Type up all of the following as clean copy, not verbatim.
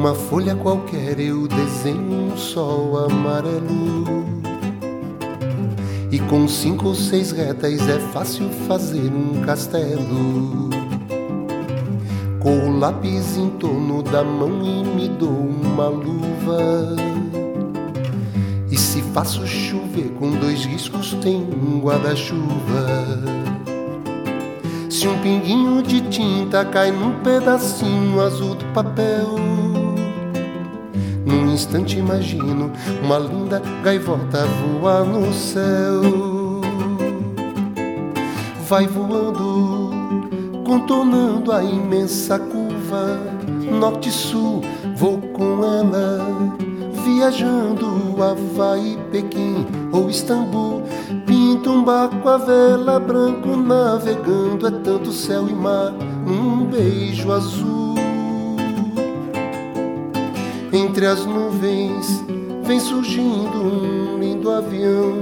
Numa folha qualquer eu desenho um sol amarelo, e com 5 ou 6 retas é fácil fazer um castelo. Com o lápis em torno da mão e me dou uma luva, e se faço chover com 2 riscos tem um guarda-chuva. Se um pinguinho de tinta cai num pedacinho azul do papel, num instante imagino uma linda gaivota voar no céu. Vai voando, contornando a imensa curva, norte e sul, vou com ela, viajando Havaí, Pequim ou Istambul. Pinto um barco a vela, branco navegando, é tanto céu e mar num beijo azul. Entre as nuvens vem surgindo um lindo avião,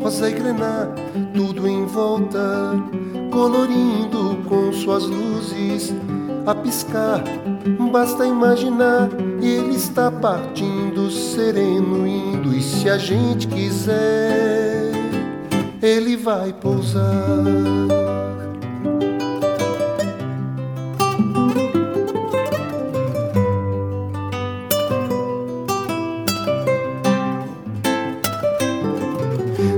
rosa e grená, tudo em volta, colorindo com suas luzes a piscar. Basta imaginar, ele está partindo sereno, indo, e se a gente quiser, ele vai pousar.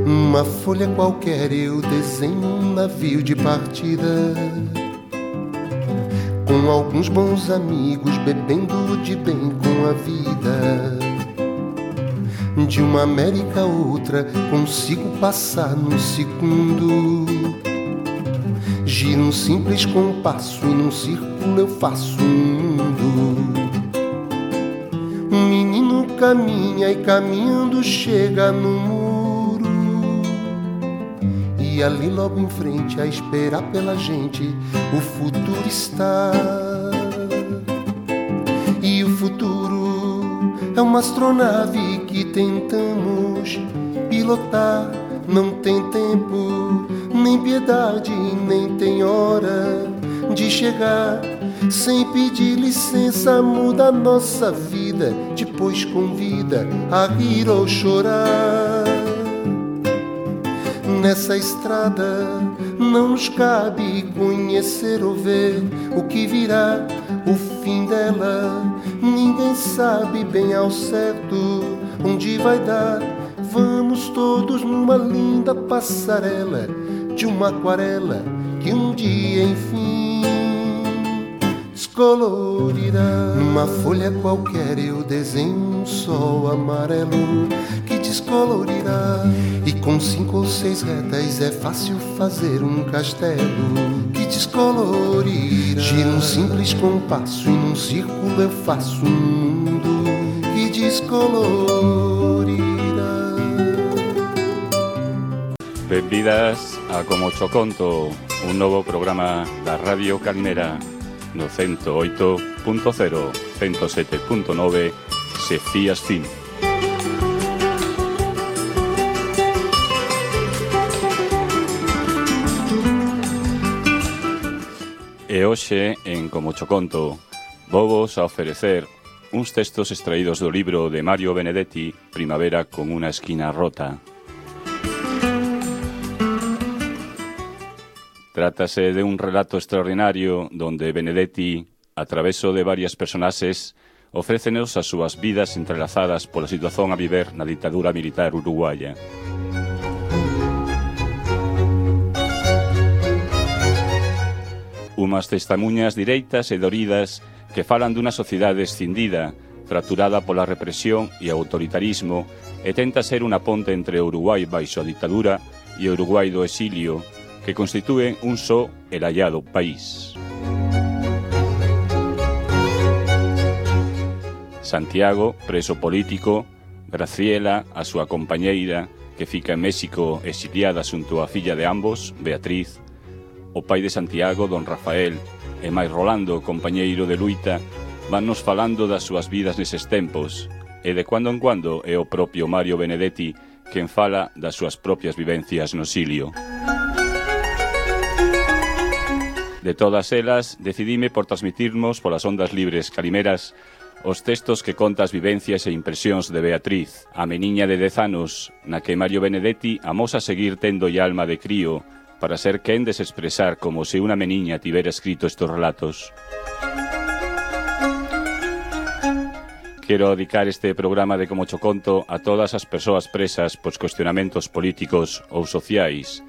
Numa folha qualquer eu desenho um navio de partida, com alguns bons amigos bebendo de bem com a vida. De uma América a outra consigo passar num segundo. Giro um simples compasso e num círculo eu faço um mundo. Um menino caminha e caminhando chega no muro, e ali logo em frente a esperar pela gente o futuro está. E o futuro é uma astronave que tentamos pilotar. Não tem tempo, nem piedade, nem tem hora de chegar. Sem pedir licença muda a nossa vida, depois convida a rir ou chorar. Nessa estrada não nos cabe conhecer ou ver o que virá, o fim dela. Ninguém sabe bem ao certo onde vai dar. Vamos todos numa linda passarela de uma aquarela que um dia enfim descolorirá. Numa folha qualquer eu desenho um sol amarelo que descolorirá, e com 5 ou 6 retas é fácil fazer um castelo que descolorirá. Giro um simples compasso e num círculo eu faço um mundo que descolorirá. Benvidas a Como Cho Conto, un novo programa da Radio Calimera no 108.0, 107.9, se fías fin. E hoxe, en Como Cho Conto, vovos a oferecer uns textos extraídos do libro de Mario Benedetti, Primavera con una esquina rota. Trátase de un relato extraordinario donde Benedetti, a traveso de varias personaxes, ofrécenos as súas vidas entrelazadas pola situación a viver na ditadura militar uruguaya. Umas testemunhas direitas e doridas que falan dunha sociedade escindida, fracturada pola represión e autoritarismo, e tenta ser unha ponte entre o Uruguai baixo a ditadura e o Uruguai do exilio, que constitúen un só e lallado país. Santiago, preso político, Graciela, a súa compañeira, que fica en México exiliada xunto á filla de ambos, Beatriz, o pai de Santiago, don Rafael, e máis Rolando, compañeiro de luita, vannos falando das súas vidas neses tempos, e de cuando en cuando é o propio Mario Benedetti quen fala das súas propias vivencias no exilio. De todas elas, decidime por transmitirmos polas ondas libres calimeras os textos que conta as vivencias e impresións de Beatriz, a meniña de 10 anos, na que Mario Benedetti amosa seguir tendo alma de crío para ser quen de se expresar como se unha meniña tivera escrito estes relatos. Quero dedicar este programa de Como cho conto a todas as persoas presas pois cuestionamentos políticos ou sociais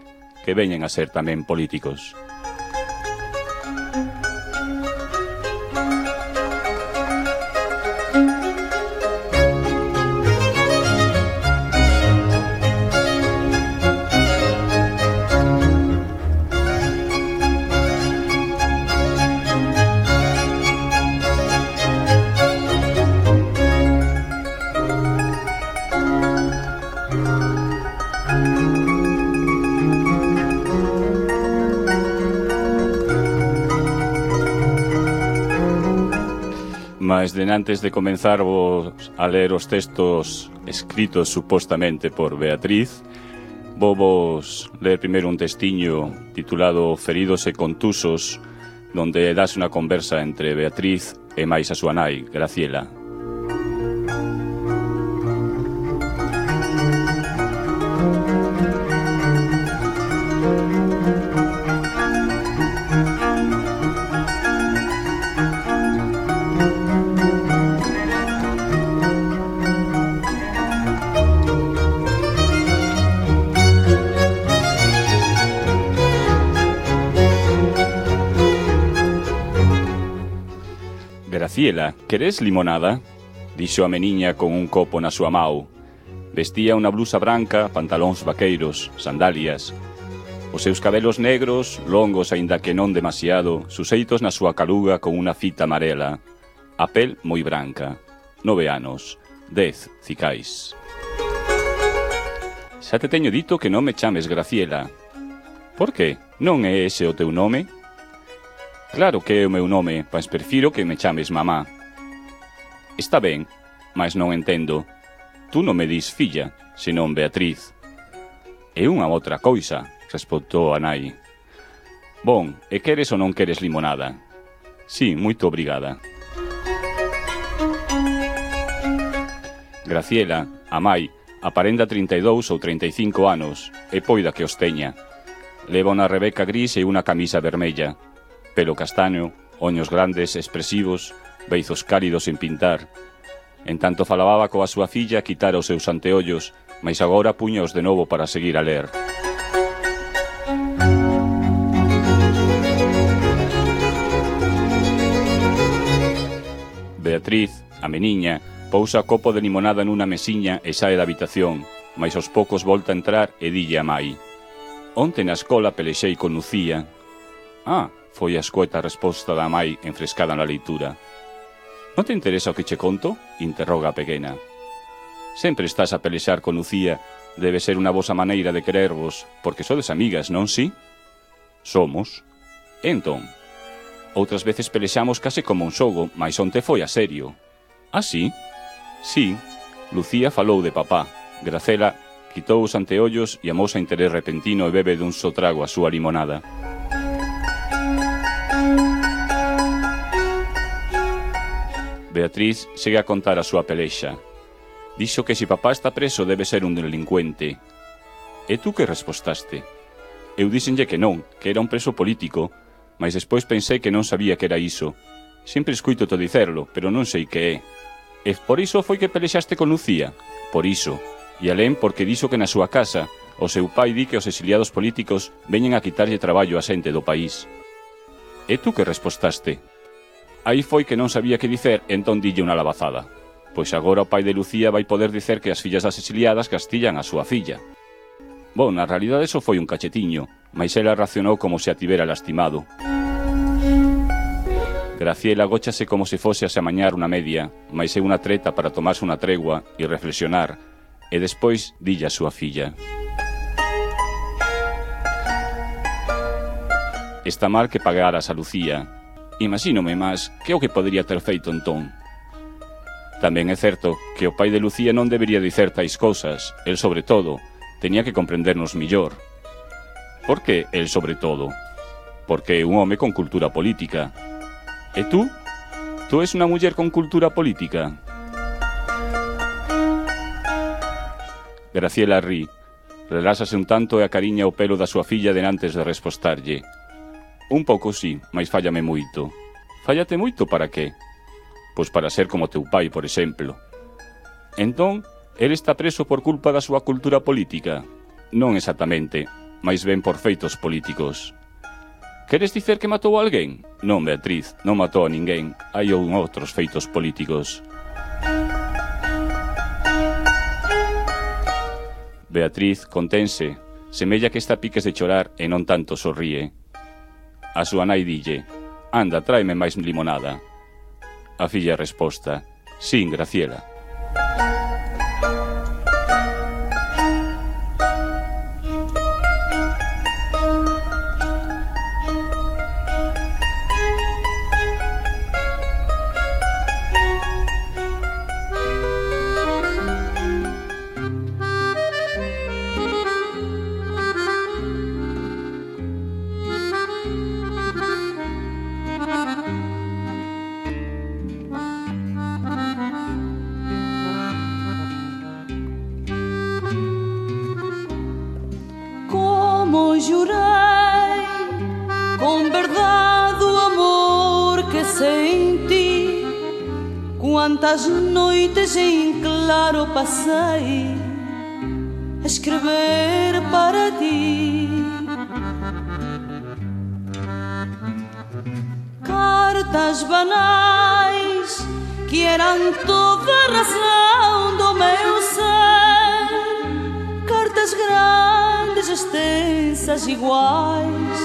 que veñen a ser tamén políticos. Mas antes de comenzar a ler os textos escritos supostamente por Beatriz, vos ler primeiro un textiño titulado Feridos e contusos, donde das unha conversa entre Beatriz e máis a súa nai, Graciela. Graciela, queres limonada? Dixo a meniña con un copo na súa mau. Vestía unha blusa branca, pantalóns vaqueiros, sandalias. Os seus cabelos negros, longos aínda que non demasiado, suseitos na súa caluga con unha fita amarela. A pel moi branca. 9 anos. 10 cicais. Xa te teño dito que non me chames Graciela. Por que? Non é ese o teu nome? Claro que é o meu nome, mas prefiro que me chames mamá. Está ben, mas non entendo. Tú non me dis filla, senón Beatriz. É unha outra coisa, respondou a nai. Bon, e queres ou non queres limonada? Sí, moito obrigada. Graciela, a mai, aparenta 32 ou 35 anos, e poida que os teña. Leva unha rebeca gris e unha camisa vermella. Pelo castaño, oños grandes, expresivos, beizos cálidos en pintar. En tanto falaba coa súa filla, quitara os seus anteollos, mas agora puñaos de novo para seguir a ler. Beatriz, a meniña, pousa copo de limonada nunha mesiña e sae da habitación, mas aos poucos volta a entrar e dille a mai. Onte na escola pelexei con Lucía. Ah, foi a escueta resposta da mai enfrescada na leitura. Non te interesa o que che conto? Interroga a pequena. Sempre estás a pelexar con Lucía. Debe ser unha vosa maneira de querervos, porque sodes amigas, non si? Somos. Entón, outras veces pelexamos case como un xogo, mas onte foi a serio. Ah, si? Si. Lucía falou de papá. Graciela quitou os anteollos e amosa interés repentino e bebe dun só trago a súa limonada. Beatriz segue a contar a súa pelexa. Dixo que se papá está preso debe ser un delincuente. E tú que respostaste? Eu díxenlle que non, que era un preso político, mas despois pensei que non sabía que era iso. Sempre escuito to dicerlo, pero non sei que é. E por iso foi que pelexaste con Lucía? Por iso. E alén porque dixo que na súa casa o seu pai di que os exiliados políticos veñen a quitarlle traballo a xente do país. E tú que respostaste? Aí foi que non sabía que dicer, entón dille unha labazada. Pois agora o pai de Lucía vai poder dicer que as fillas das exiliadas castillan a súa filla. Bon, na realidade eso foi un cachetiño, mas ela reaccionou como se a tivera lastimado. Graciela agóchase como se fose a se amañar unha media, mas é unha treta para tomarse unha tregua e reflexionar, e despois dille a súa filla. Está mal que pagaras a Lucía. Imagínome máis que o que podería ter feito entón. Tamén é certo que o pai de Lucía non debería dicer tais cousas. El sobre todo tenía que comprendernos millor. Por que el sobre todo? Porque é un home con cultura política. E tú? Tú Tú és unha muller con cultura política? Graciela ri, reláxase un tanto e acariña o pelo da súa filla denantes de respostarlle. Un pouco sí, mais fállame moito. Fállate moito para qué? Pois para ser como teu pai, por exemplo. Entón, ele está preso por culpa da súa cultura política? Non exactamente, mais ben por feitos políticos. Queres dicer que matou a alguén? Non, Beatriz, non matou a ninguén. Hai outros feitos políticos. Beatriz contense, semella que está a piques de chorar e non tanto sorríe. A súa nai dille: anda, tráeme máis limonada. A filla resposta: sí, Graciela. Quantas noites em claro passei a escrever para ti, cartas banais que eram toda a razão do meu ser, cartas grandes, extensas, iguais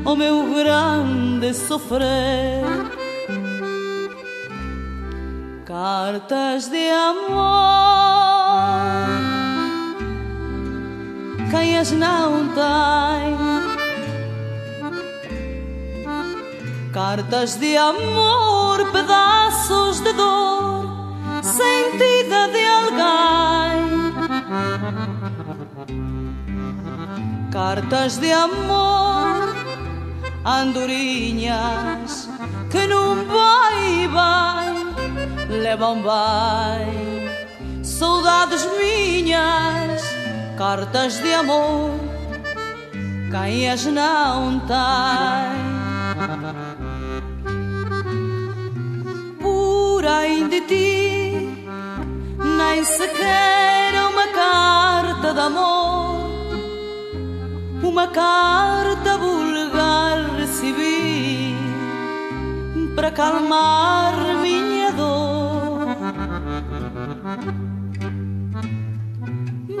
ao meu grande sofrer. Cartas de amor, quem as não tem? Cartas de amor, pedaços de dor, sentida de alguém. Cartas de amor, andorinhas que num vai levam bem saudades minhas, cartas de amor, quem as não tem? Por aí de ti, nem sequer uma carta de amor, uma carta vulgar recebi para acalmar minha dor.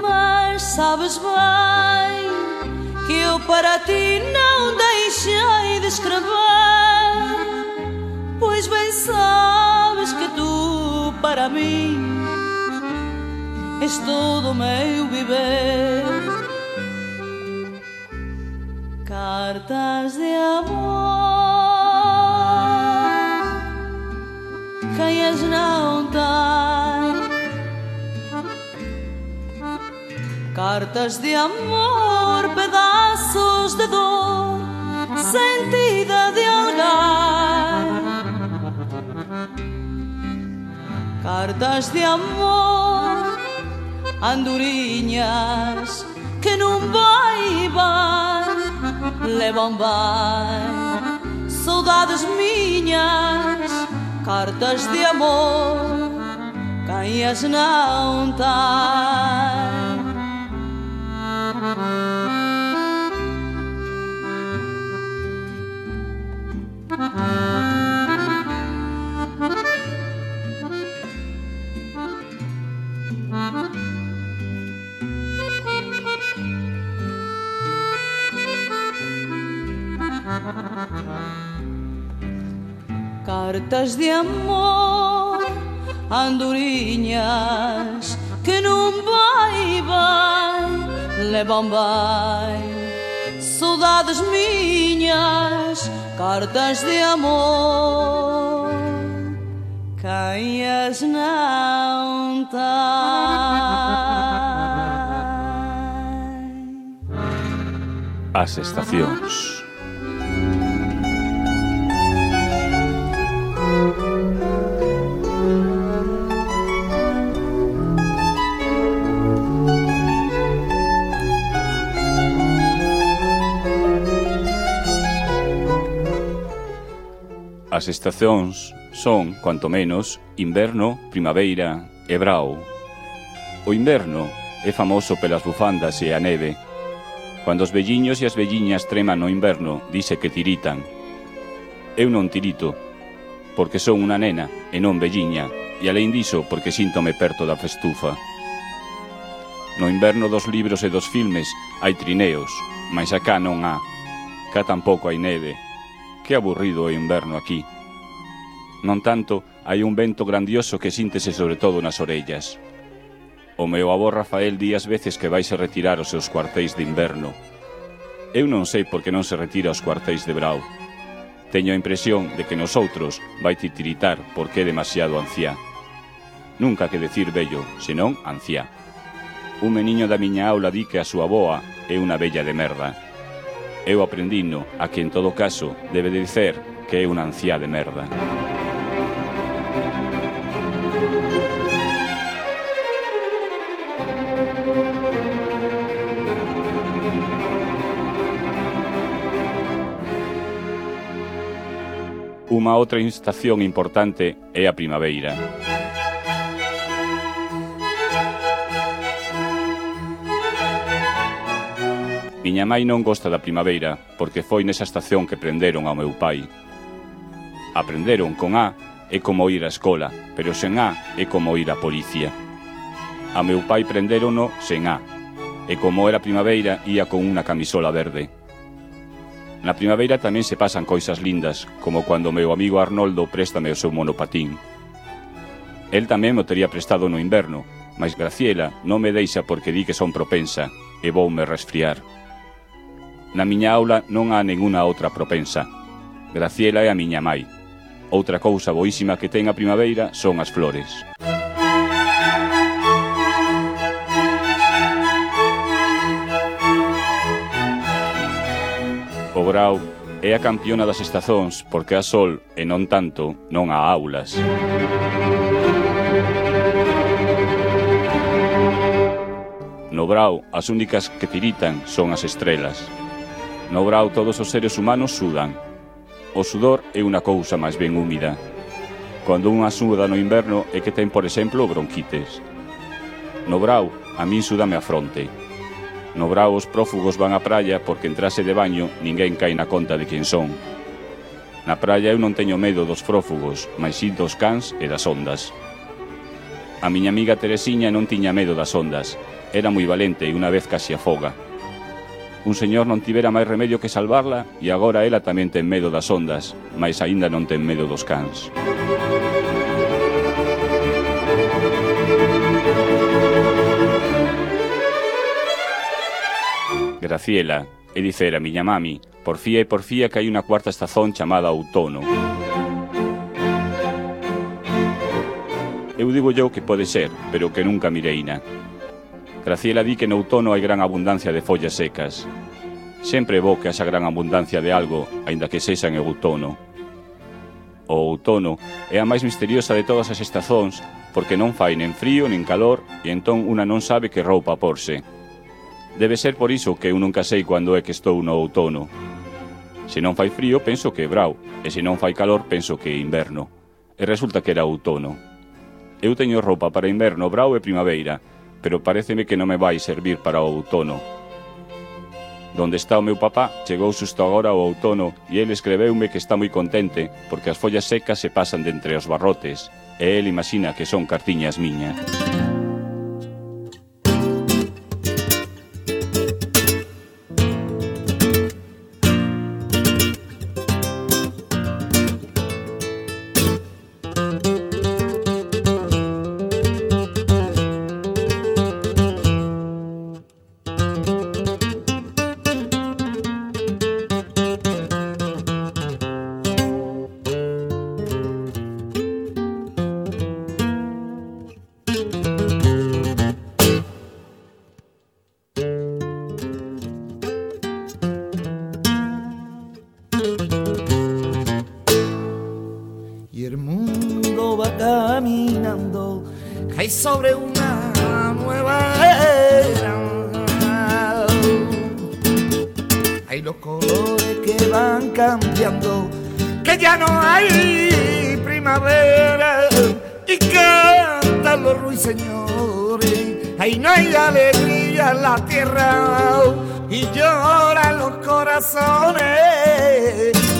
Mas sabes bem que eu para ti não deixei de escrever, pois bem sabes que tu para mim és todo o meu viver. Cartas de amor, quem as não tem? Cartas de amor, pedaços de dor, sentida de alguém. Cartas de amor, andorinhas que num vai levam bem saudades minhas, cartas de amor, quem as não tem? Cartas de amor, andorinhas que num vai levam bem saudades minhas, cartas de amor, quem as não tem? As estacións. As estacións son, cuanto menos, inverno, primavera e brao. O inverno é famoso pelas bufandas e a neve. Cando os velliños e as velliñas treman no inverno, dice que tiritan. Eu non tirito, porque son unha nena e non velliña, e alén diso, porque síntome perto da festufa. No inverno dos libros e dos filmes hai trineos, mais acá non há. Cá tampouco hai neve. Que aburrido o inverno aquí. Non tanto, hai un vento grandioso que síntese sobre todo nas orellas. O meu avó Rafael di ás veces que vaise retirar os seus cuartéis de inverno. Eu non sei por que non se retira os cuartéis de brao. Teño a impresión de que nosotros vai titiritar porque é demasiado anciá. Nunca que decir vello, senón anciá. Un meniño da miña aula di que a súa avoa é unha vella de merda. Eu aprendino a que en todo caso debe de dicer que é unha anciá de merda. Unha outra estación importante é a primavera. Miña mai non gosta da primavera porque foi nesa estación que prenderon ao meu pai. Aprenderon con A é como ir á escola, pero sen A é como ir á policía. A meu pai prenderono sen A, e como era primavera ia con unha camisola verde. Na primavera tamén se pasan cousas lindas, como cando o meu amigo Arnoldo préstame o seu monopatín. El tamén mo tería prestado no inverno, mas Graciela non me deixa porque di que son propensa e voume resfriar. Na miña aula non há ninguna outra propensa. Graciela é a miña mai. Outra cousa boísima que ten a primavera son as flores. O grao é a campiona das estazóns porque há sol e non tanto non há aulas. No brao, as únicas que tiritan son as estrelas. No brao todos os seres humanos sudan. O sudor é unha cousa máis ben húmida. Cando unha suda no inverno é que ten, por exemplo, bronquites. No brao, a min súdame a fronte. No brao os prófugos van á praia porque en trase de baño ninguén cae na conta de quen son. Na praia eu non teño medo dos prófugos, mas si dos cans e das ondas. A miña amiga Teresiña non tiña medo das ondas. Era moi valente e unha vez casi afoga. Un señor non tivera máis remedio que salvarla e agora ela tamén ten medo das ondas, mas aínda non ten medo dos cans. Graciela, e dicer a miña mami, porfía que hai unha cuarta estación chamada outono. Eu digo yo que pode ser, pero que nunca mireina. Graciela di que no outono hai gran abundancia de follas secas. Sempre é bo que haxa gran abundancia de algo, aínda que sexa en outono. O outono é a máis misteriosa de todas as estazóns, porque non fai nen frío nen calor, e entón unha non sabe que roupa porse. Debe ser por iso que eu nunca sei cando é que estou no outono. Se non fai frío, penso que é brao, e se non fai calor, penso que é inverno. E resulta que era outono. Eu teño roupa para inverno, brao e primavera, pero paréceme que non me vai servir para o outono. Donde está o meu papá, chegou xusto agora o outono e ele escreveume que está moi contente porque as follas secas se pasan de entre os barrotes e ele imagina que son cartiñas miñas. Sobre una nueva era. Hay los colores que van cambiando, que ya no hay primavera y cantan los ruiseñores. Ahí no hay alegría en la tierra y lloran los corazones,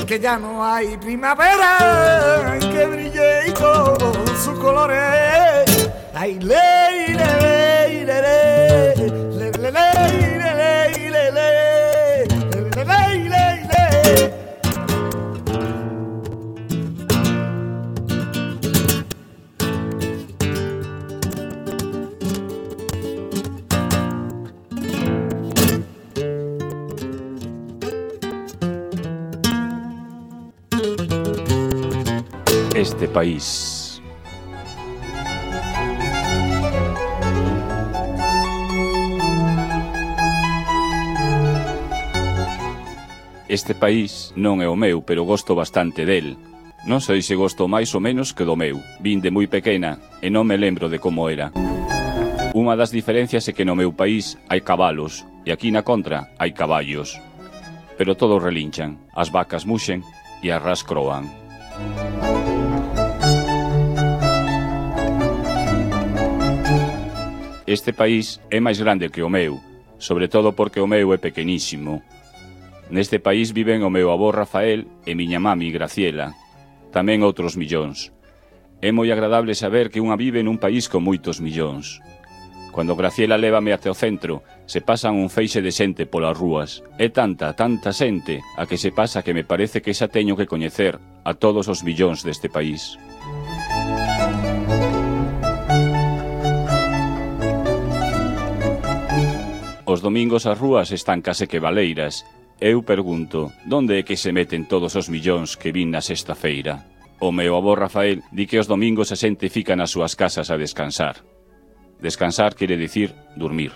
que ya no hay primavera que brille con sus colores. Ay, ley, ley, ley, ley, ley, ley, ley, ley. Este país. Este país non é o meu, pero gosto bastante del. Non sei se gosto máis ou menos que do meu. Vin de moi pequena e non me lembro de como era. Unha das diferencias é que no meu país hai cabalos e aquí na contra hai caballos. Pero todos relinchan, as vacas muxen e as ras croan. Este país é máis grande que o meu, sobre todo porque o meu é pequenísimo. Neste país viven o meu avó Rafael e miña mami Graciela, tamén outros millóns. É moi agradable saber que unha vive nun país con moitos millóns. Cando Graciela lévame até o centro, se pasan un feixe de xente polas rúas. É tanta, tanta xente a que se pasa que me parece que xa teño que coñecer a todos os millóns deste país. Os domingos as rúas están case que baleiras. Eu pergunto, onde é que se meten todos os millóns que vin na sexta feira? O meu avó Rafael di que os domingos a xente fica nas súas casas a descansar. Descansar quere dicir dormir.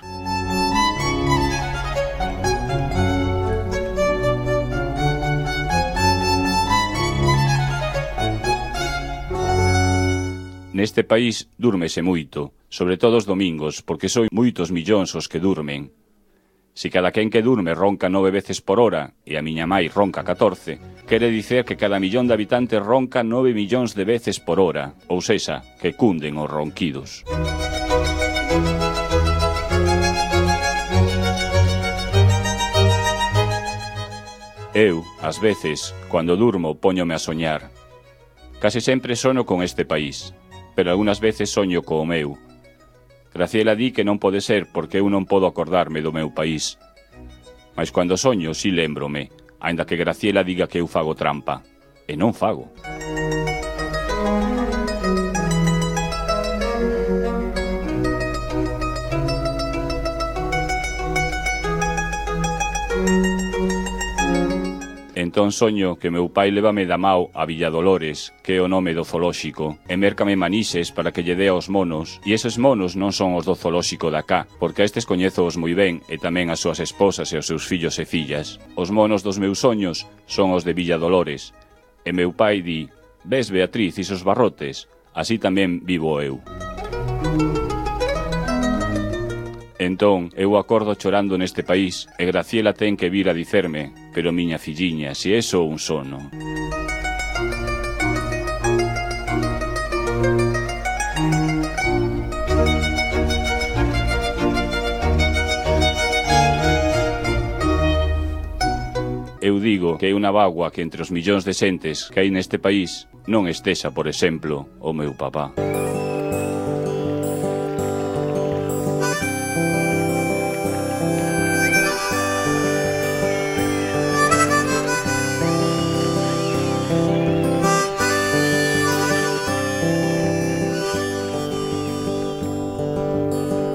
Neste país dúrmese moito, sobre todo os domingos, porque son moitos millóns os que durmen. Se cada quen que durme ronca 9 veces por hora e a miña mai ronca 14, quere dicer que cada millón de habitantes ronca 9 millóns de veces por hora, ou sexa, que cunden os ronquidos. Eu, ás veces, cando durmo, póñome a soñar. Case sempre sono con este país, pero algunhas veces soño co meu. Graciela di que non pode ser porque eu non podo acordarme do meu país. Mas cando soño, si lémbrome, aínda que Graciela diga que eu fago trampa. E non fago. Entón soño que meu pai lévame da mao a Villadolores, que é o nome do zoolóxico, e mércame manixes para que lle dé aos monos, e eses monos non son os do zoolóxico da cá, porque a estes coñezoos moi ben, e tamén as súas esposas e os seus fillos e fillas. Os monos dos meus soños son os de Villadolores, e meu pai di, ves Beatriz isos barrotes, así tamén vivo eu. Entón, eu acordo chorando neste país e Graciela ten que vir a dicerme, pero miña filliña, se é só un sono. Eu digo que é unha bagua que entre os millóns de xentes que hai neste país non estexa, por exemplo, o meu papá.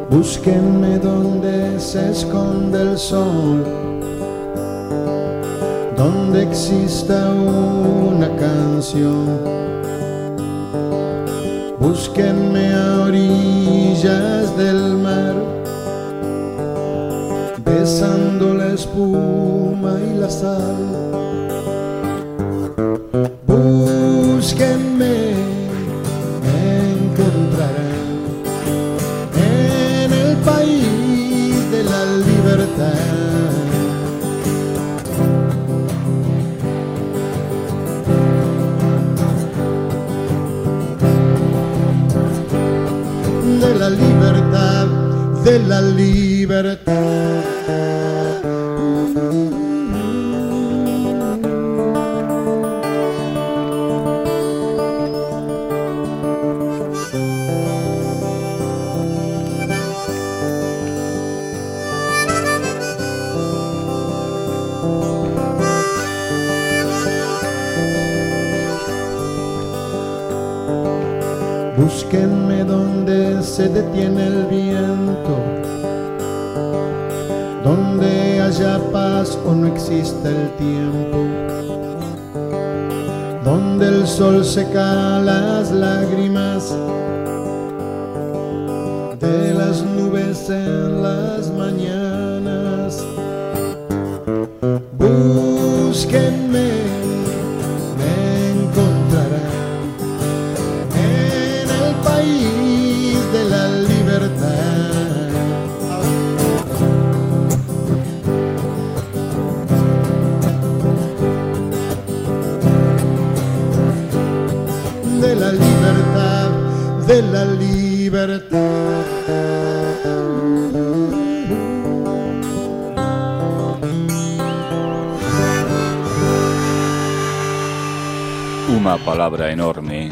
Búsquenme donde se esconde el sol, donde exista una canción. Búsquenme a orillas del mar, besando la espuma y la sal. Búsquenme, encontrarán en el país de la libertad. de la libertad. Búsquenme donde se detiene el viento, donde haya paz o no exista el tiempo, donde el sol seca las lágrimas de las nubes en las mañanas. Búsquenme, me encontrarán en el país de la libertad. De la libertad, de la libertad. Unha palabra enorme.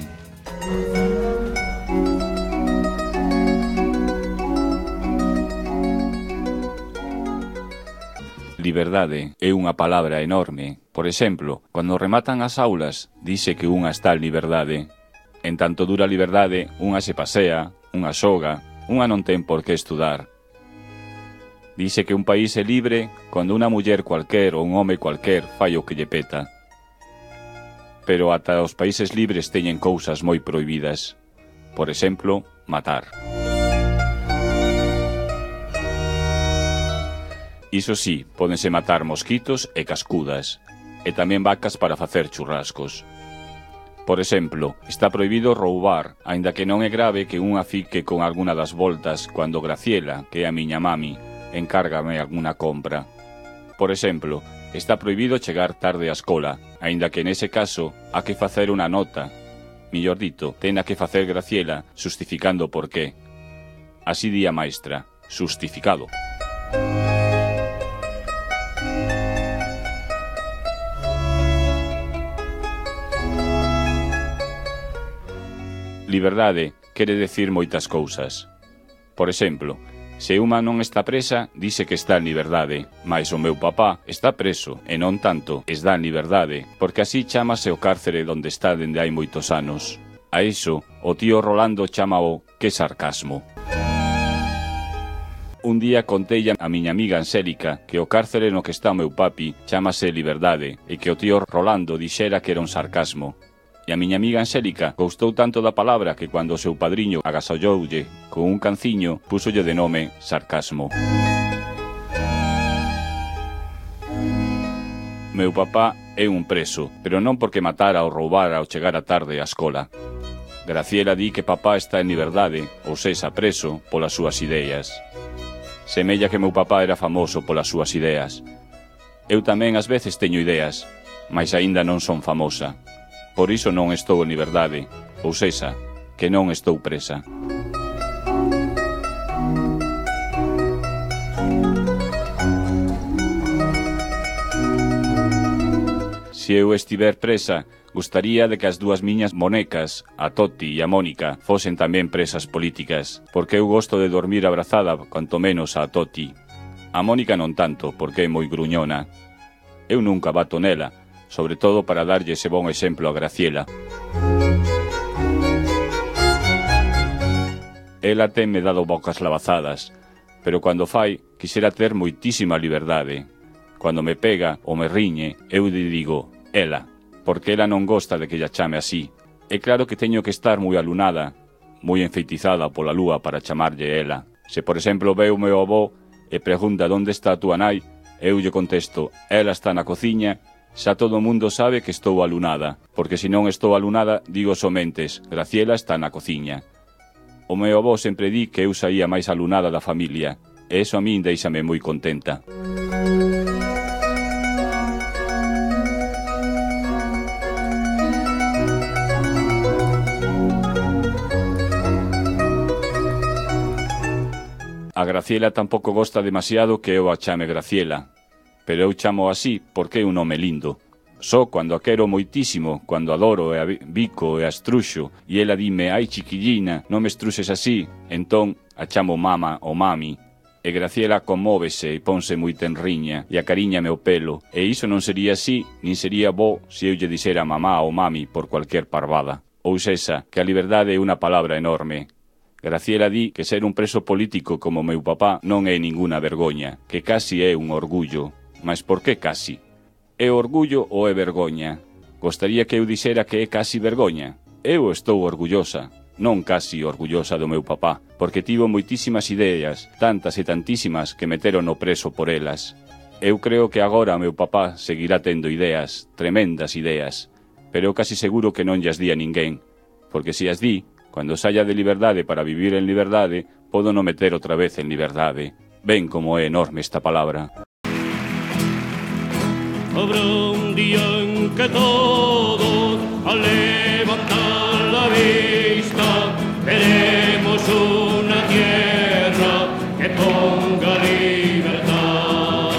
Liberdade é unha palabra enorme. Por exemplo, cando rematan as aulas, dice que unha está en liberdade. En tanto dura a liberdade, unha se pasea, unha xoga, unha non ten por que estudar. Dice que un país é libre cando unha muller cualquer ou un home cualquer fai o que lle peta. Pero ata os países libres teñen cousas moi prohibidas. Por exemplo, matar. Iso sí, pódense matar mosquitos e cascudas, e tamén vacas para facer churrascos. Por exemplo, está prohibido roubar, aínda que non é grave que unha fique con alguna das voltas cando Graciela, que é a miña mami, encárgame alguna compra. Por exemplo, está prohibido chegar tarde á escola, aínda que nese caso ha que facer unha nota. Millor dito, ten a que facer Graciela, xustificando por qué. Así di a maestra, xustificado. Liberdade quere decir moitas cousas. Por exemplo, se unha non está presa, dice que está en liberdade, mais o meu papá está preso e non tanto está en liberdade, porque así chámase o cárcere onde está dende hai moitos anos. A iso, o tío Rolando chámao que sarcasmo. Un día conteille a miña amiga Ansélica que o cárcere no que está o meu papi chámase liberdade e que o tío Rolando dixera que era un sarcasmo. E a miña amiga Ansélica gostou tanto da palabra que cando o seu padriño agasalloulle con un canciño, púsolle de nome sarcasmo. Meu papá é un preso, pero non porque matara ou roubara ao chegar a tarde á escola. Graciela di que papá está en liberdade, ou sexa preso, polas súas ideas. Semella que meu papá era famoso polas súas ideas. Eu tamén ás veces teño ideas, mas aínda non son famosa. Por iso non estou en liberdade, ou sexa, que non estou presa. Se eu estiver presa, gustaría de que as dúas miñas monecas, a Toti e a Mónica, fosen tamén presas políticas, porque eu gosto de dormir abrazada, canto menos a Toti. A Mónica non tanto, porque é moi gruñona. Eu nunca bato nela, sobre todo para darlle ese bon exemplo a Graciela. Ela tenme dado bocas lavazadas, pero cando fai, quixera ter moitísima liberdade. Cando me pega ou me riñe, eu lle digo, ela, porque ela non gosta de que lla chame así. É claro que teño que estar moi alunada, moi enfeitizada pola lúa para chamarlle ela. Se, por exemplo, ve o meu avó e pregunta onde está a túa nai, eu lle contesto, ela está na cociña. Xa todo o mundo sabe que estou alunada, porque se non estou alunada, digo somentes, Graciela está na cociña. O meu avó sempre di que eu saía máis alunada da familia, e eso a min deixame moi contenta. A Graciela tampouco gosta demasiado que eu a chame Graciela, pero eu chamo así porque é un nome lindo. Só cando a quero moitísimo, cando adoro e a bico e a estruxo, e ela dime, ai chiquillina, non me estruxes así, entón a chamo mama ou mami. E Graciela conmóvese e ponse moi tenriña e acariñame o pelo, e iso non sería así, nin sería bo se eu lle dixera mamá ou mami por cualquier parvada. Ou sesa, que a liberdade é unha palabra enorme. Graciela di que ser un preso político como meu papá non é ninguna vergoña, que casi é un orgullo. Mas por que casi? É orgullo ou é vergoña? Gostaría que eu dixera que é casi vergoña. Eu estou orgullosa, non casi orgullosa do meu papá, porque tivo moitísimas ideas, tantas e tantísimas que meteron no preso por elas. Eu creo que agora meu papá seguirá tendo ideas, tremendas ideas, pero eu casi seguro que non llas di a ninguén, porque se as di, cando saia de liberdade para vivir en liberdade, podo non meter outra vez en liberdade. Ven como é enorme esta palabra. Habrá un día en que todos, al levantar la vista, veremos una tierra que ponga libertad.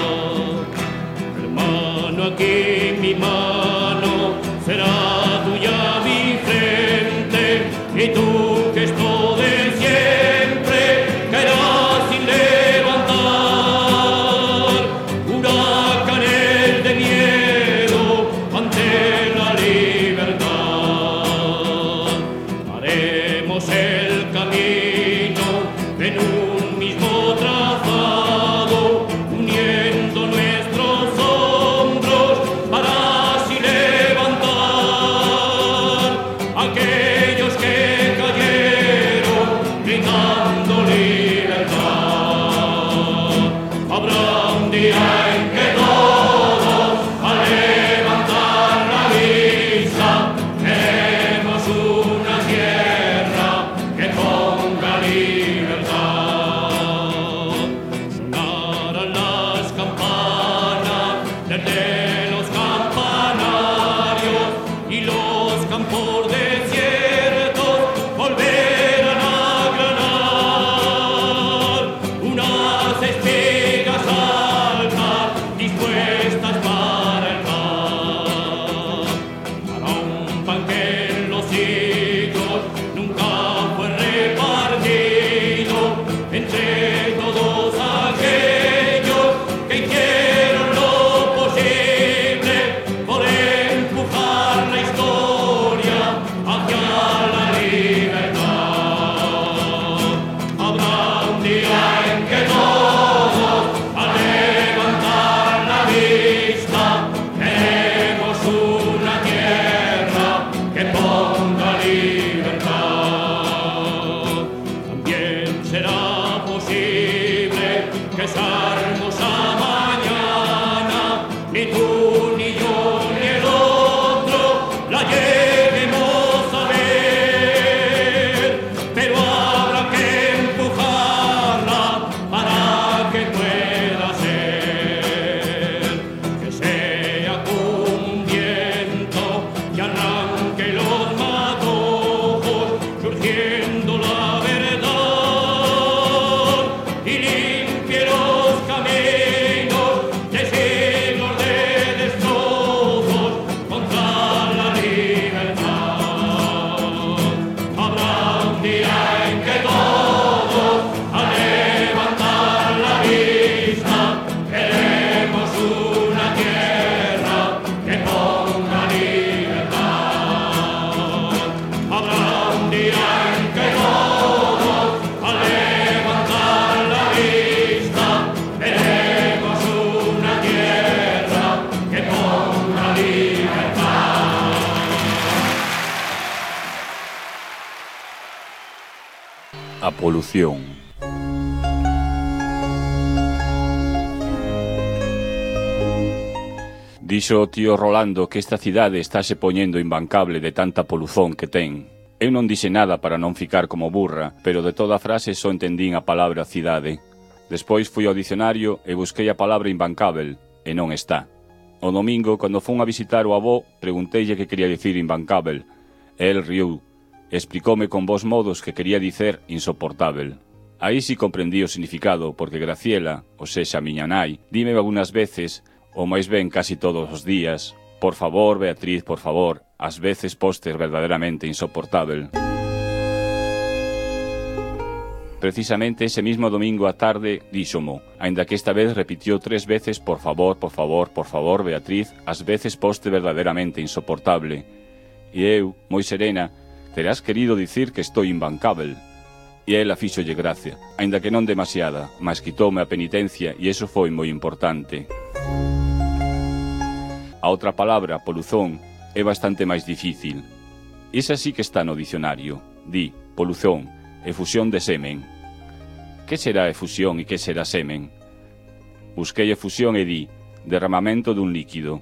Hermano, aquí mi mano será tuya mi frente, y tú que esto de siempre caerás sin levantar. Huracanes de miedo ante la libertad. Haremos el camino en un mismo trazado, uniendo nuestros hombros para así levantar aquellos que cayeron gritando libertad. Habrá un día en que todos, al levantar la vista, veremos una tierra que ponga libertad. Sonarán las campanas desde los campanarios, y los campos desiertos volverán a granar. Unas espigas altas dispuestas para el pan, para un pan que en los siglos nunca fue repartido entre todos aquellos que hicieron lo posible por empujar la historia hacia la libertad. Habrá un día en que todos, al levantar la vista, veremos una tierra que ponga libertad. También será posible que esa hermosa mañana ni tú, ni yo, ni el otro la lleguemos a ver, pero habrá que empujarla para que pueda ser, que sea como un viento que arranque los matojos, surgiendo la verdad y limpie los caminos de siglos de destrozos contra la libertad. Habrá un día en que todos, al levantar la vista, veremos una tierra que ponga libertad. Habrá un día en que todos, al levantar la vista, veremos una tierra que ponga libertad. A polución. Dixo o tío Rolando que esta cidade estáse poñendo imbancable de tanta poluzón que ten. Eu non dixe nada para non ficar como burra, pero de toda a frase só entendín a palabra cidade. Despois fui ao dicionario e busquei a palabra imbancável, e non está. O domingo, cando fun a visitar o avó, pregunteille que quería dicir imbancável, e el riu, e explicoume con vos modos que quería dicer insoportável. Aí si comprendí o significado, porque Graciela, o sexa miña nai, dime algunhas veces, ou máis ben casi todos os días, por favor, Beatriz, por favor, ás veces postes verdadeiramente insoportável. Precisamente ese mismo domingo á tarde díxomo, aínda que esta vez repitió 3 veces por favor, por favor, por favor, Beatriz, ás veces poste verdadeiramente insoportable. E eu, moi serena, terás querido dicir que estou imbancável. E ela fíxolle gracia, aínda que non demasiada, mas quitoume a penitencia e iso foi moi importante. A outra palabra, poluzón, é bastante máis difícil. Esa sí que está no dicionario. Di, poluzón, efusión de semen. Que será efusión e que será semen? Busquei efusión e di, derramamento dun líquido.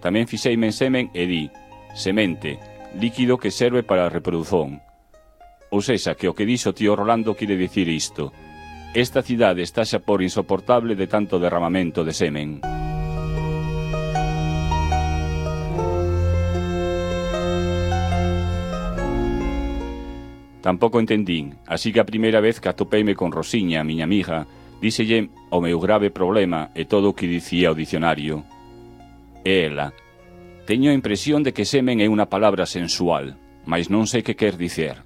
Tamén fixeime en semen e di, semente, líquido que serve para a reprodución. Ou sexa, que o que dixo tío Rolando quere dicir isto. Esta cidade está xa por insoportable de tanto derramamento de semen. Tampouco entendín, así que a primeira vez que atopeime con Rosiña, a miña amiga, díxelle o meu grave problema e todo o que dicía o dicionario. E ela, teño a impresión de que semen é unha palabra sensual, mas non sei que quer dicer.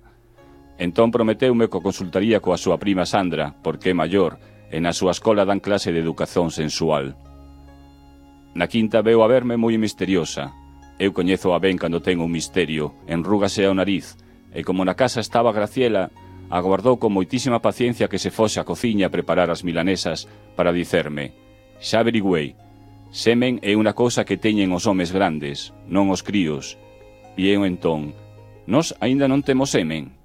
Entón prometeume que o consultaría coa súa prima Sandra, porque é maior, e na súa escola dan clase de educación sensual. Na quinta veu a verme moi misteriosa. Eu coñezo a ben cando ten un misterio, enrúgase ao nariz, e como na casa estaba Graciela, aguardou con moitísima paciencia que se fose á cociña a preparar as milanesas para dicerme: xa averigüei, semen é unha cousa que teñen os homes grandes, non os críos. E eu entón, nós aínda non temos semen.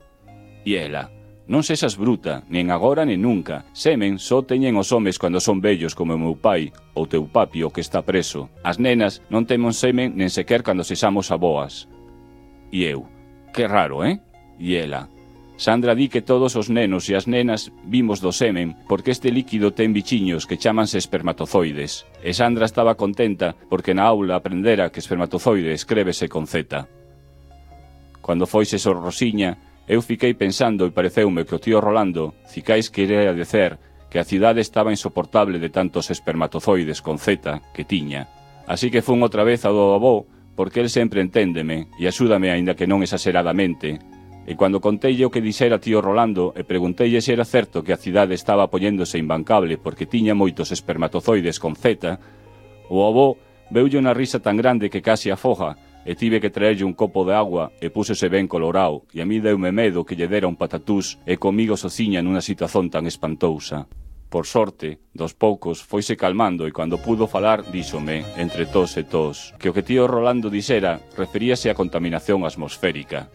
E ela, non sexas bruta, nen agora nen nunca, semen só teñen os homes cando son vellos como o meu pai, ou teu papi o que está preso. As nenas non temos semen nen sequer cando sexamos aboas. E eu, que raro, E ela, Sandra di que todos os nenos e as nenas vimos do semen porque este líquido ten bichiños que chámanse espermatozoides. E Sandra estaba contenta porque na aula aprendera que espermatozoide escrévese con Z. Cando foise sor Rosiña, eu fiquei pensando e pareceume que o tío Rolando cicais quería dicer que a cidade estaba insoportable de tantos espermatozoides con Z que tiña. Así que fun outra vez ao do avó, porque el sempre enténdeme e axúdame aínda que non exageradamente. E cando conteille o que dixera tío Rolando e pregunteille se era certo que a cidade estaba poñéndose imbancable porque tiña moitos espermatozoides con Z, o avó veulle unha risa tan grande que casi afoga, e tive que traerlle un copo de agua e púsese ben colorao, e a mí deume medo que lle dera un patatús e comigo sociña nunha situación tan espantousa. Por sorte, dos poucos, foise calmando e cando pudo falar, díxome, entre tos e tos, que o que tío Rolando dixera referíase á contaminación atmosférica.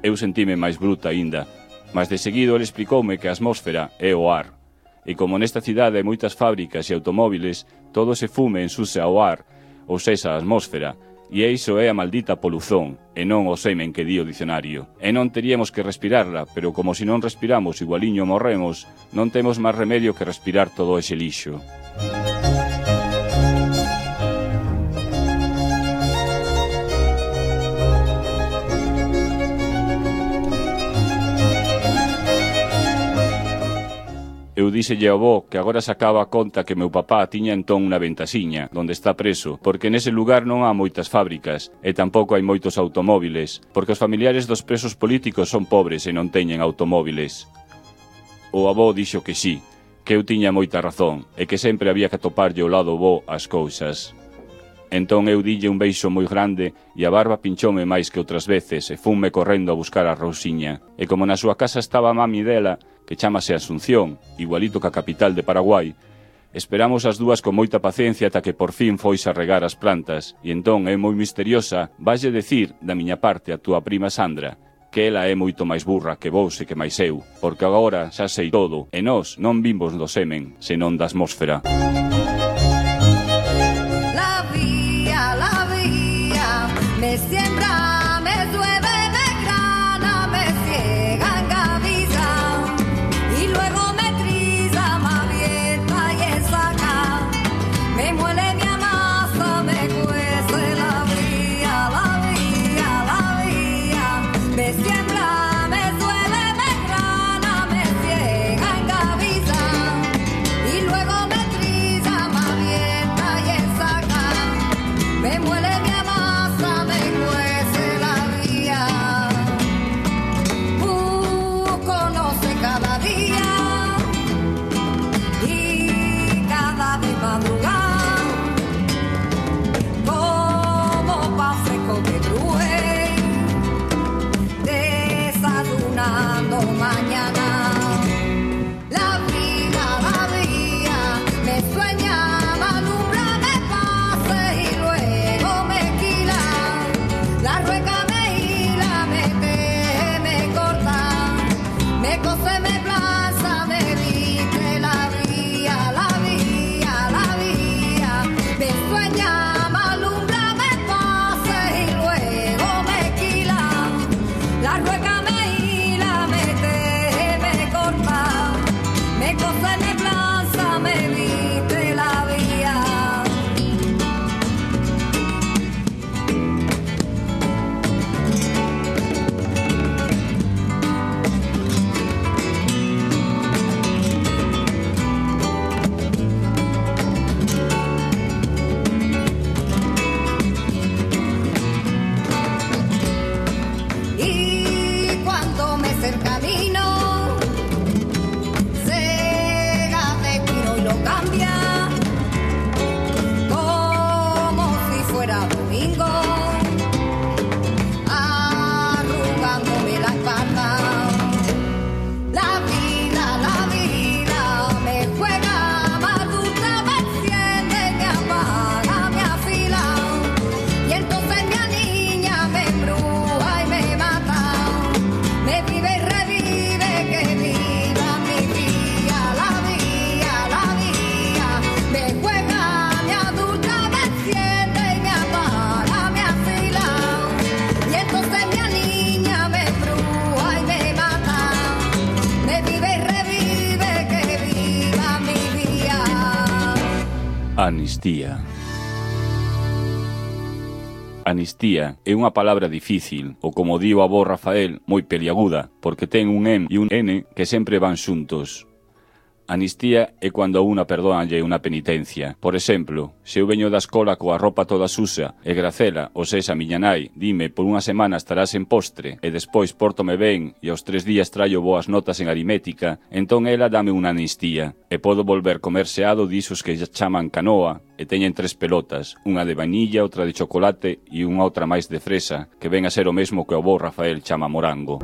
Eu sentime máis bruta aínda, mas de seguido ele explicoume que a atmósfera é o ar, e como nesta cidade hai moitas fábricas e automóviles, todo ese fume ensucia ao ar, ou sexa, a atmósfera, e iso é a maldita poluzón, e non o semen que di o dicionario. E non teríamos que respirarla, pero como se non respiramos igualiño morremos, non temos máis remedio que respirar todo ese lixo. Eu díxelle ao avó que agora sacaba a conta que meu papá tiña entón unha ventasiña, onde está preso, porque nese lugar non há moitas fábricas, e tampouco hai moitos automóviles, porque os familiares dos presos políticos son pobres e non teñen automóviles. O avó dixo que sí, que eu tiña moita razón, e que sempre había que atoparlle ao lado bo as cousas. Entón eu dille un beixo moi grande e a barba pinchoume máis que outras veces e funme correndo a buscar a Rosiña. E como na súa casa estaba a mami dela, que chámase Asunción, igualito que a capital de Paraguai, esperamos as dúas con moita paciencia ata que por fin foise a regar as plantas, e entón é moi misteriosa, valle decir, da miña parte, a túa prima Sandra, que ela é moito máis burra que vos e que máis eu, porque agora xa sei todo, e nós non vimos do semen, senón da atmósfera. La vía, me siembra, me llueve, me grana, me ciega en camisa, y luego me triza, me avienta y ensaca, me muele mi amasa, me cuece la vía, me siembra, me llueve, me grana, me ciega. Amnistía. Amnistía é unha palabra difícil, ou como di o avó Rafael, moi peliaguda, porque ten un M e un N que sempre van xuntos. Amnistía é cando a unha perdóanlle unha penitencia. Por exemplo, se eu veño da escola coa roupa toda susa e Gracela, ou sexa miña nai, dime por unha semana estarás en postre e despois pórtome ben e aos 3 días traio boas notas en aritmética, entón ela dame unha amnistía e podo volver comer seado disos que chaman canoa e teñen 3 pelotas, unha de vainilla, outra de chocolate e unha outra máis de fresa, que ven a ser o mesmo que o avó Rafael chama morango.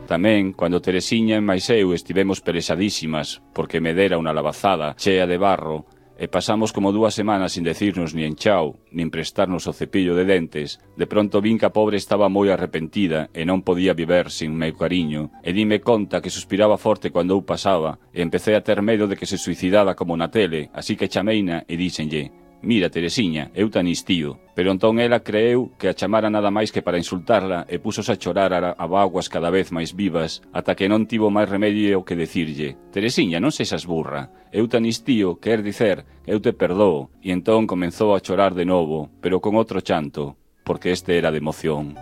Tamén, cando Teresiña e máis eu estivemos perexadísimas porque me dera unha lavazada chea de barro e pasamos como 2 semanas sin decirnos nin chao, nin prestarnos o cepillo de dentes, de pronto vin que a pobre estaba moi arrepentida e non podía viver sin meu cariño, e dime conta que suspiraba forte cando eu pasaba, e empecé a ter medo de que se suicidara como na tele, así que chameina e díxenlle: «Mira, Teresiña, eu te anistío». Pero entón ela creeu que a chamara nada máis que para insultarla e púsose a chorar a báguas cada vez máis vivas, ata que non tivo máis remedio que decirlle: «Teresiña, non sexas burra, eu te anistío, quer dicer que eu te perdoo». E entón comenzou a chorar de novo, pero con outro chanto, porque este era de emoción.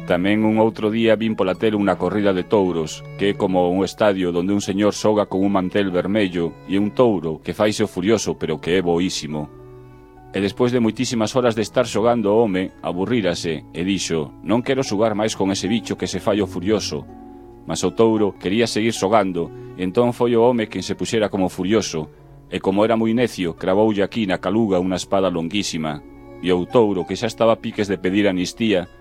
Tamén un outro día vin pola tele unha corrida de touros, que é como un estadio onde un señor xoga con un mantel vermello e un touro que faise o furioso pero que é boísimo. E despois de moitísimas horas de estar xogando o home, aburrírase e dixo: «Non quero xogar máis con ese bicho que se fai o furioso». Mas o touro quería seguir xogando e entón foi o home quen se puxera como furioso e como era moi necio, cravoulle aquí na caluga unha espada longuísima e o touro, que xa estaba a piques de pedir amnistía,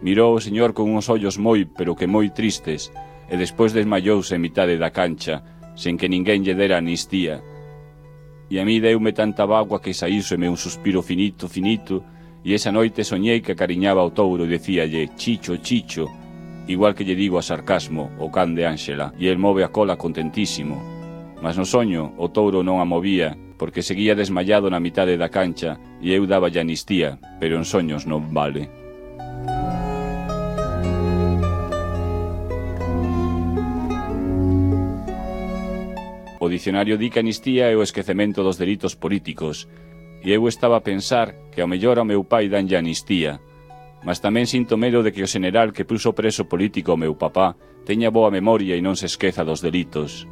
mirou o señor con uns ollos moi, pero que moi tristes, e despois desmayouse en mitade da cancha, sen que ninguén lle dera amnistía. E a mí deume tanta bagua que saíseme un suspiro finito, finito, e esa noite soñei que acariñaba ao touro e decíalle: «Chicho, chicho», igual que lle digo a Sarcasmo, o can de Ángela, e el move a cola contentísimo. Mas no soño o touro non a movía, porque seguía desmayado na mitade da cancha, e eu daballe amnistía, pero en soños non vale. O dicionario di que amnistía é o esquecemento dos delitos políticos, e eu estaba a pensar que ao mellor ao meu pai danlle amnistía, mas tamén sinto medo de que o xeneral que puso preso político ao meu papá teña boa memoria e non se esqueza dos delitos.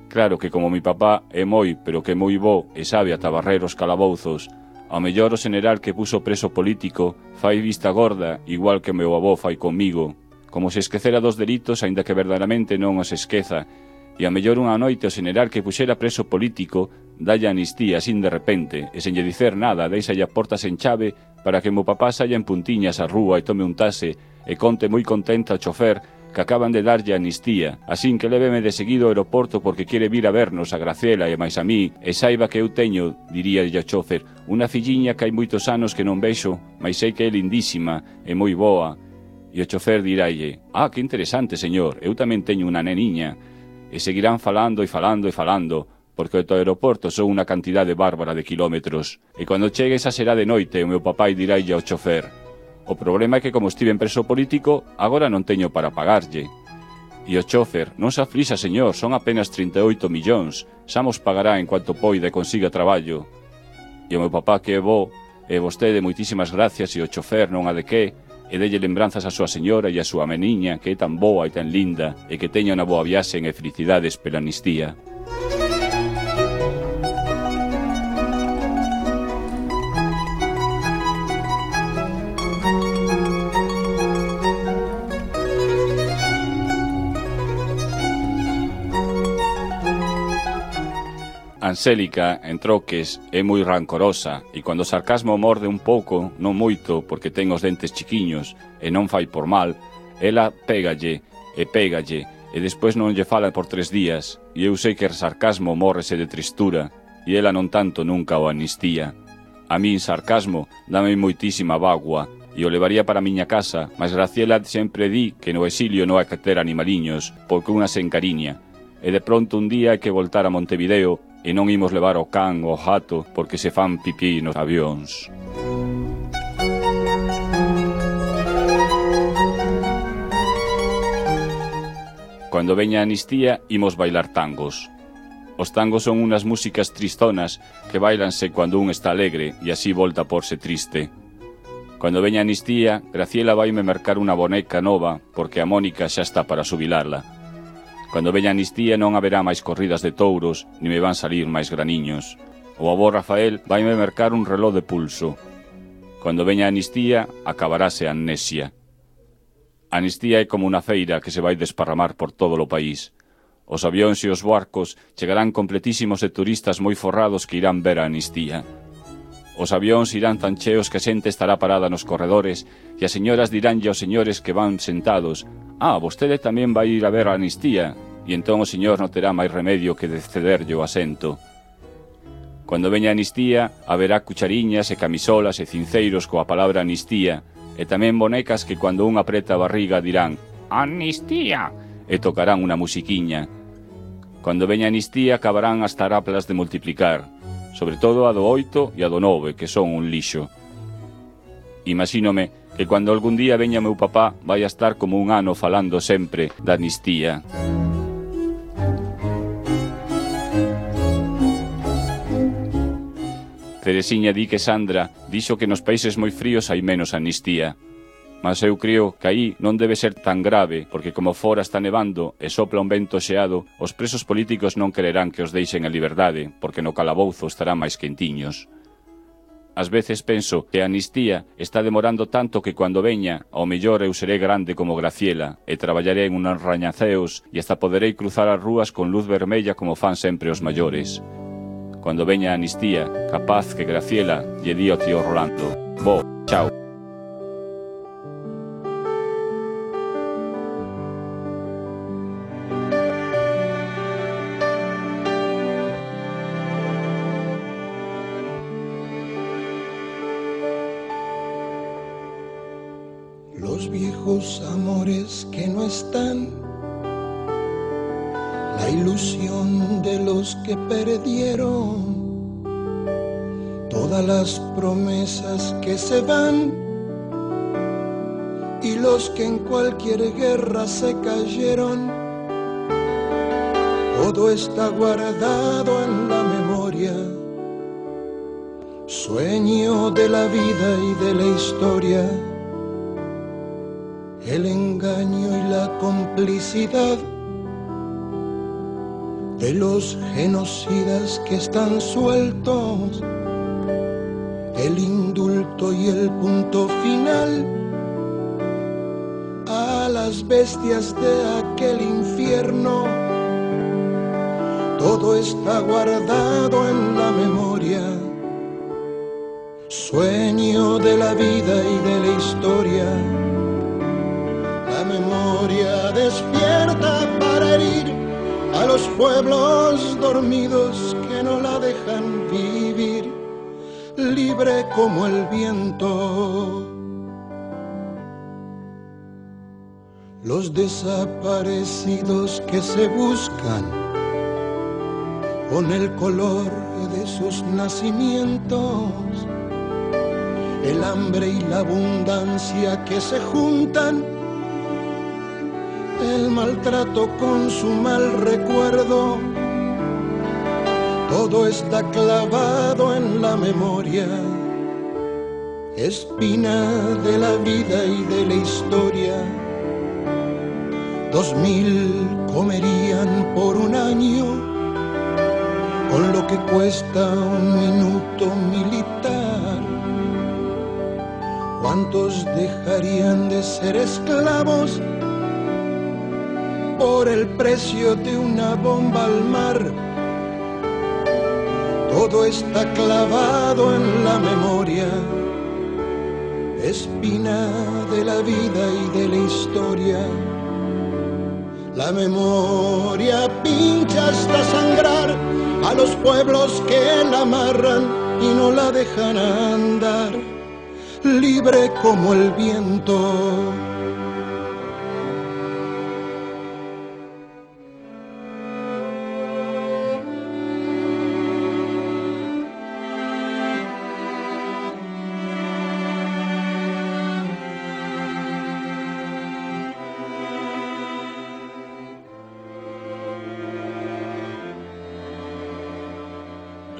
Claro que como mi papá é moi, pero que moi bo e sabe ata barrer os calabouzos, ao mellor o xeneral que puso preso político fai vista gorda igual que o meu avó fai comigo, como se esquecera dos delitos aínda que verdadeiramente non os esqueza. E a mellor unha noite o xeneral que puxera preso político dalle amnistía sin de repente e sen lle dicer nada, deixalle a porta sen chave para que meu papá saia en puntiñas á rúa e tome un tase e conte moi contenta ao chofer que acaban de darlle amnistía, asín que léveme de seguido ao aeroporto porque quere vir a vernos a Graciela e máis a mí, e saiba que eu teño, diríalle ao chofer, unha filliña que hai moitos anos que non vexo, mas sei que é lindísima e moi boa. E o chofer dirálle: «Ah, que interesante, señor, eu tamén teño unha neniña». E seguirán falando e falando e falando, porque o aeroporto son unha cantidade bárbara de kilómetros, e cando chegue esa será de noite o meu papai dirálle ao chofer: «O problema é que como estive en preso político, agora non teño para pagarlle». E o chofer: «Non se aflixa, señor, son apenas 38 millóns, xa mos pagará en cuanto poida e consiga traballo». E o meu papá, que é bo, e vostede moitísimas gracias, e o chofer non a de que, e delle lembranzas a súa señora e a súa meniña, que é tan boa e tan linda, e que teña unha boa viaxe e felicidades pela amnistía. Anxélica, en troques, é moi rancorosa e cando o sarcasmo morde un pouco, non moito, porque ten os dentes chiquiños e non fai por mal, ela pégalle e despois non lle fala por 3 días e eu sei que o sarcasmo mórrese de tristura e ela non tanto nunca o amnistía. A min sarcasmo dame moitísima bagua e o levaría para a miña casa, mas Graciela sempre di que no exilio non hai que ter animaliños porque unha se encariña. E de pronto un día hai que voltar a Montevideo e non imos levar o can ou o gato porque se fan pipí nos avións. Cando veña a Anistía, imos bailar tangos. Os tangos son unas músicas tristonas que bailanse cando un está alegre e así volta a porse triste. Cando veña a Anistía, Graciela vaime mercar unha boneca nova porque a Mónica xa está para xubilarla. Cando veña a Anistía non haberá máis corridas de touros ni me van salir máis graniños. O avó Rafael vaime mercar un reló de pulso. Cando veña a Anistía, acabarase a amnesia. A Anistía é como unha feira que se vai desparramar por todo o país. Os avións e os barcos chegarán completísimos de turistas moi forrados que irán ver a Anistía. Os avións irán tan cheos que a xente estará parada nos corredores e as señoras diránlle aos señores que van sentados: «Ah, vostede tamén vai ir a ver a Anistía», e entón o señor non terá máis remedio que de cederlle o asento. Cando veña a Anistía, haberá cuchariñas e camisolas e cinceiros coa palabra Anistía, e tamén bonecas que cando un apreta a barriga dirán «Anistía!» e tocarán unha musiquiña. Cando veña a Anistía acabarán as taraplas de multiplicar, sobre todo a do 8 e a do 9, que son un lixo. Imagínome que cando algún día veña meu papá vai a estar como un ano falando sempre da Anistía. Teresiña di que Sandra dixo que nos países moi fríos hai menos amnistía. Mas eu creo que aí non debe ser tan grave, porque como fora está nevando e sopla un vento xeado, os presos políticos non quererán que os deixen en liberdade, porque no calabouzo estarán máis quentiños. Ás veces penso que a amnistía está demorando tanto que cando veña, ao mellor eu seré grande como Graciela, e traballaré en uns rañaceos e hasta poderei cruzar as rúas con luz vermella como fan sempre os maiores. Cando veña a amnistía, capaz que Graciela lle di ao tío Rolando: «Bo, chao». Los viejos amores que no están, la ilusión de los que perdieron, todas las promesas que se van y los que en cualquier guerra se cayeron, todo está guardado en la memoria, sueño de la vida y de la historia. El engaño y la complicidad de los genocidas que están sueltos, el indulto y el punto final a las bestias de aquel infierno, todo está guardado en la memoria, sueño de la vida y de la historia. La memoria despierta para herir a los pueblos dormidos que no la dejan vivir, libre como el viento. Los desaparecidos que se buscan con el color de sus nacimientos, el hambre y la abundancia que se juntan, el maltrato con su mal recuerdo, todo está clavado en la memoria, espina de la vida y de la historia. 2000 comerían por un año con lo que cuesta un minuto militar. ¿Cuántos dejarían de ser esclavos por el precio de una bomba al mar? Todo está clavado en la memoria, espina de la vida y de la historia. La memoria pincha hasta sangrar a los pueblos que la amarran y no la dejan andar, libre como el viento.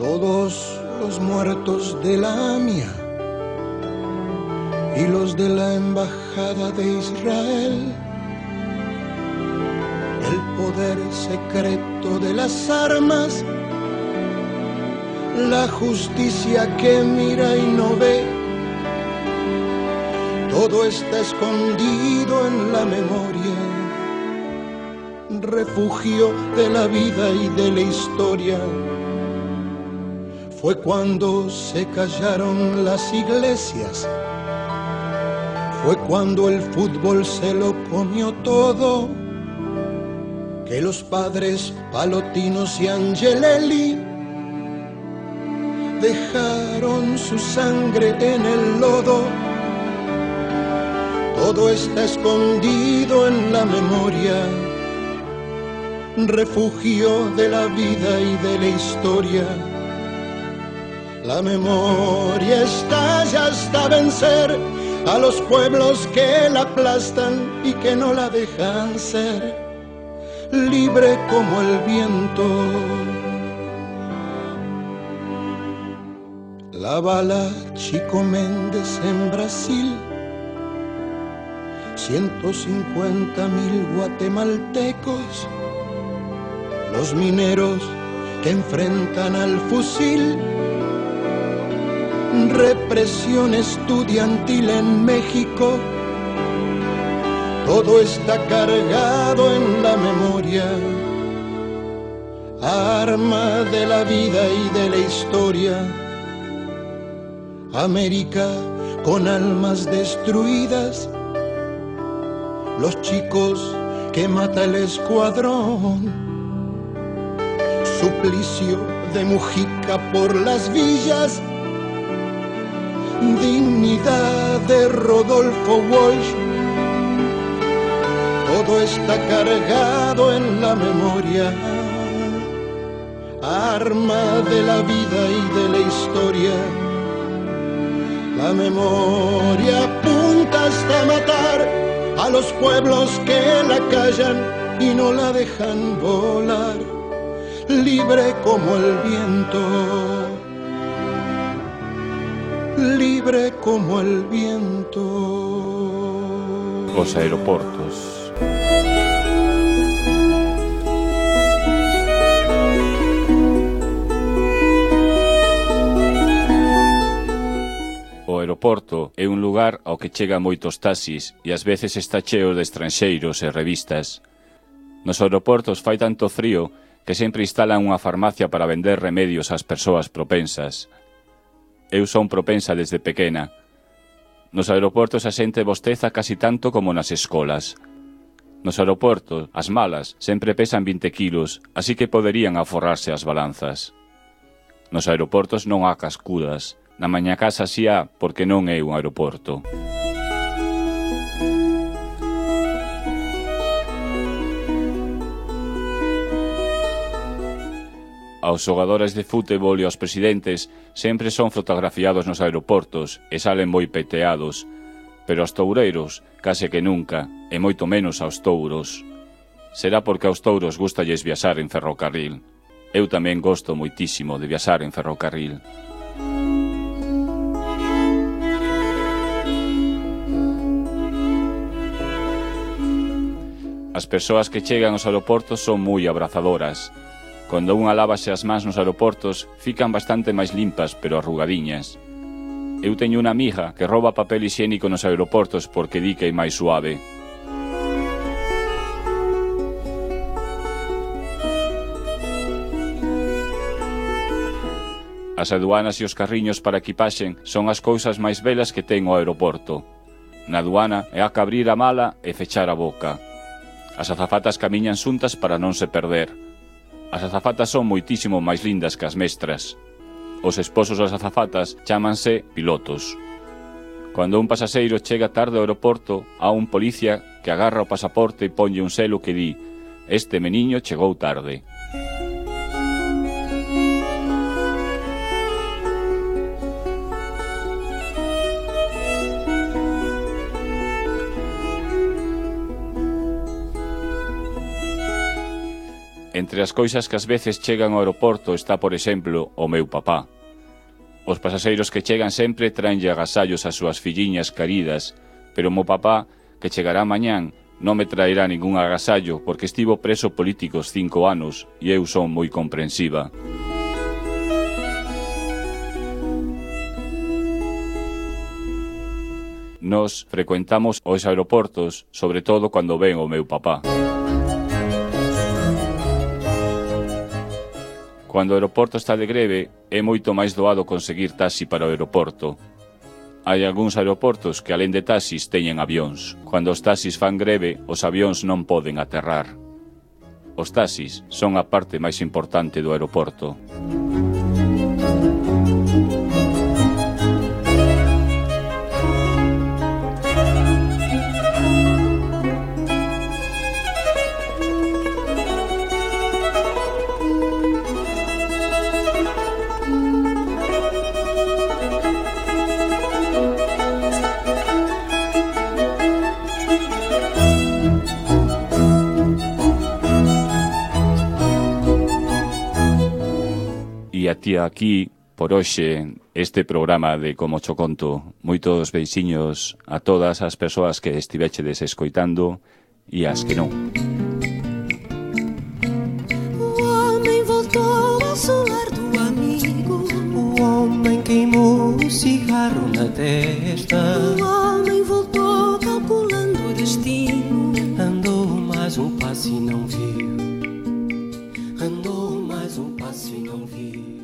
todos los muertos de la AMIA y los de la Embajada de Israel, el poder secreto de las armas, la justicia que mira y no ve, todo está escondido en la memoria, refugio de la vida y de la historia. Fue cuando se callaron las iglesias, fue cuando el fútbol se lo comió todo, que los padres Palotinos y Angelelli dejaron su sangre en el lodo. Todo está escondido en la memoria, refugio de la vida y de la historia. La memoria estalla hasta vencer a los pueblos que la aplastan y que no la dejan ser libre como el viento. La bala Chico Méndez en Brasil, 150.000 guatemaltecos, los mineros que enfrentan al fusil, represión estudiantil en México, todo está cargado en la memoria, arma de la vida y de la historia. América con almas destruidas, los chicos que mata el escuadrón, suplicio de Mujica por las villas, dignidad de Rodolfo Walsh, todo está cargado en la memoria, arma de la vida y de la historia. La memoria apunta hasta matar a los pueblos que la callan y no la dejan volar, libre como el viento, libre como el viento. Os aeroportos. O aeroporto é un lugar ao que chegan moitos taxis e ás veces está cheo de estranxeiros e revistas. Nos aeroportos fai tanto frío que sempre instalan unha farmacia para vender remedios ás persoas propensas. Eu son propensa desde pequena. Nos aeroportos a xente bosteza casi tanto como nas escolas. Nos aeroportos, as malas sempre pesan 20 kilos, así que poderían aforrarse as balanzas. Nos aeroportos non há cascudas. Na maña casa si há, porque non é un aeroporto. Aos xogadores de fútbol e aos presidentes sempre son fotografiados nos aeroportos e salen moi peteados, pero aos toureiros case que nunca, e moito menos aos touros. Será porque aos touros gústalles viaxar en ferrocarril. Eu tamén gosto moitísimo de viaxar en ferrocarril. As persoas que chegan aos aeroportos son moi abrazadoras. Cando unha lávase as mans nos aeroportos, fican bastante máis limpas, pero arrugadiñas. Eu teño unha amiga que rouba papel hixiénico nos aeroportos porque di que é máis suave. As aduanas e os carriños para equipaxen son as cousas máis belas que ten o aeroporto. Na aduana é a que abrir a mala e fechar a boca. As azafatas camiñan xuntas para non se perder. As azafatas son moitísimo máis lindas que as mestras. Os esposos das azafatas chámanse pilotos. Cando un pasaxeiro chega tarde ao aeroporto, há un policía que agarra o pasaporte e ponlle un selo que di: "Este meniño chegou tarde". Entre as cousas que ás veces chegan ao aeroporto está, por exemplo, o meu papá. Os pasaxeiros que chegan sempre traenlle agasallos ás súas filliñas queridas, pero o meu papá, que chegará mañán, non me traerá ningún agasallo porque estivo preso políticos 5 anos e eu son moi comprensiva. Nos frecuentamos os aeroportos, sobre todo cando ven o meu papá. Cando o aeroporto está de greve, é moito máis doado conseguir taxi para o aeroporto. Hai algúns aeroportos que, alén de taxis, teñen avións. Cando os taxis fan greve, os avións non poden aterrar. Os taxis son a parte máis importante do aeroporto. E atía aquí, por hoxe, este programa de Como cho conto. Moitos beixiños a todas as persoas que estivechedes escoitando e as que non. O homem voltou ao solar do amigo. O homem queimou o cigarro na testa. O homem voltou calculando o destino. Andou mais um passo e não viu. Andou mais um passo e não viu.